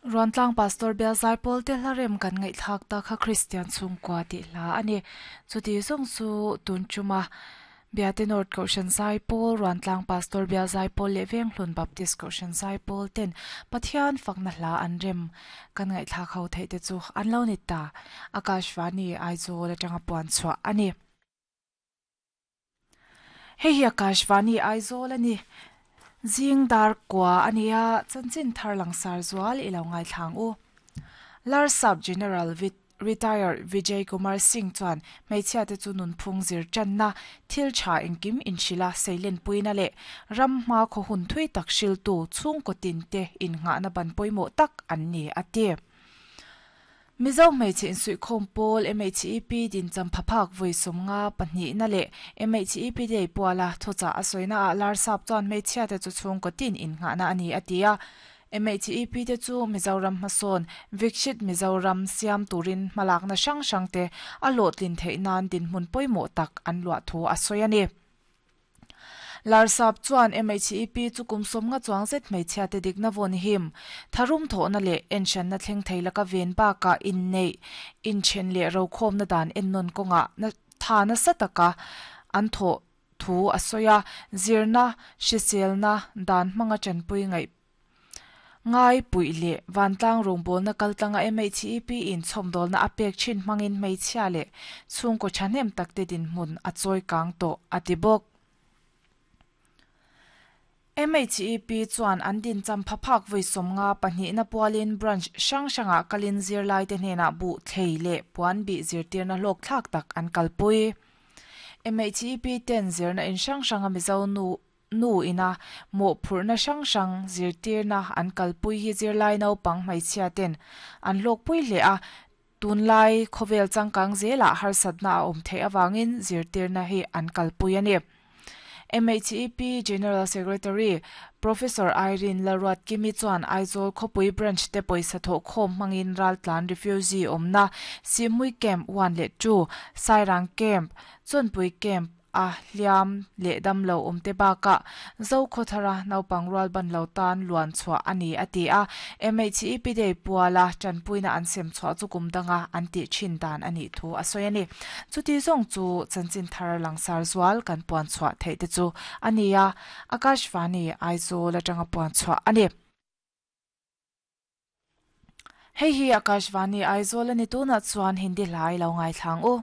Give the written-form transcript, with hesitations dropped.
Ruantlang Pastor Bial Zaipawl te hla rem kan ngaihthlak ta kha Kristian chhungkua tih hla a ni. Chuti zawng chu tun tuma Biate North Kohhran Zaipawl, Ruantlang Pastor Bial Zaipawl leh Venghlun Baptist Kohhran Zaipawl ten Pathian fakna hla an rem kan ngaihthlak ho theih te chu an lo ni ta. Akashvani Aizawl atanga puan chhuah a ni. Hei hi Akashvani Aizawl a ni. Zing dar kua a nia, chanchin thar langsar zual i lo ngaithlang u. Larsap General Retired Vijay Kumar Singh chuan hmeichhia te chu nunphung zir tanna, thil tha engkim inhrilh a seilenpuina leh ram hma khaw hun thui tak hriltu chhungkaw tin te innghahna ban pawimawh tak an ni, a ti. Mizo hmeichhe insuihkhawm pawl MHEP dincham phaphak vawi 50 pahnihna leh MHEP Day puala thuchah a sawina ah Larsap chuan hmeichhia te chu chhungkaw tin innghahna a ni a ti a. MHEP te chu Mizoram hmasawn Vikshit Mizoram siam turin hmalakna hrang hrang te a hlawhtlin theih nan dinhmun pawimawh tak an luah thu a sawi a ni. Larsap chuan MHEP chu kum 50 chuang zet hmeichhia te dikna vawn him, tharum thawhna leh enhranna thleng thei laka ven bakah inneih, inthen leh rokhawmna dan ennawn kawngah tha nasa taka an thawh thu a sawi a, zirna, hriselna dan hmanga tanpui ngaih Ngai puih leh vantlang rawngbawlna kaltlanga MHEP in chhawmdawlna a pek thin hmangin hmeichhia leh chhungkaw thahnem takte dinhmun a chawi kang tawh, a ti bawk. MHEP chuan an dincham phaphak vawi 50 pahnihna pualin branch hrang hrangah kalin zirlaite hnenah buh thlei leh puan bih zirtirna hlawkthlak tak an kalpui. MHEP ten zirna in hrang hranga Mizo nu Nu ina mawhphurhna hrang hrang zirtirna an kalpui hi zirlai naupang hmeichhia ten an hlawkpui hle a, tunlai khawvel changkang zelah harsatna a awm theih avangin zirtirna hi an kalpui a ni. MHEP General Secretary Professor Irene Lalruatkimi chuan Aizawl khawpui branch te pawisa thawhkhawm hmangin raltlan refugee awmna Sihhmui Camp 1 leh 2, Sairang Camp, Chawnpui Camp, a hliam leh dam lo awm te bakah Zokhawthara naupang rual ban lo tan luan chhuah a ni a ti a, MHEP Day puala tanpuina an sem chhuah chu kum danga an tih thin dan a nih thu a sawi a ni. Chuti zawng chu chanchin thar langsar zual kan puan chhuah theih te chu a ni a, Akashvani Aizawl atanga puan chhuah a ni. Hei hi Akashvani Aizawl a ni tunah chuan Hindi hla i lo ngaithlang u.